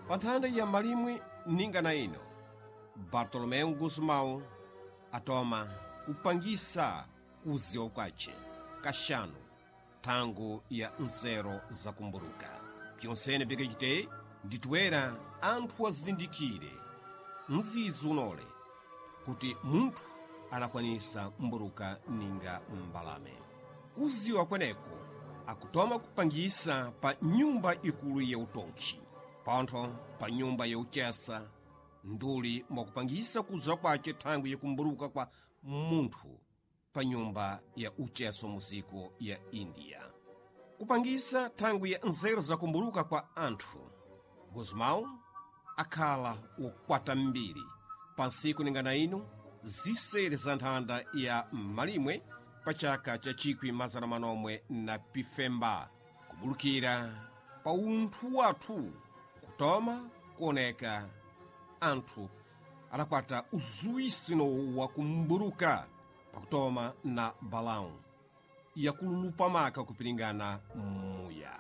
Pa nthanda ya malimwe ninga na ino, Bartolomeu Gusmão atoma kupangisa kuziwa kwace kaxanu thango ya nzero zakumburuka. Pyonsene pikacite nditoera anthu azindikire mzizi unole kuti munthu adakwanisa mburuka ninga mbalame. Kuziwa kweneko akutoma kupangisa pa nyumba ikulu ya utonkhi, pontho pa nyumba ya uchesa, nduli mwakupangisa kuziwa kwace thangwi yakumburuka kwa munthu pa nyumba ya ucheso muziko ya India. Kupangisa thangwi ya nzeru zakumburuka kwa anthu, Gusmão akhala wokwata mbiri pa ntsiku ningana ino zisere za nthanda ya malimwe pa chaka cha 1945 kubulukira pa unthu wathu kutoma kuoneka anthu adakwata uzuwisino wa kumburuka pakutoma na balão yakululupa maka kupiringana muya.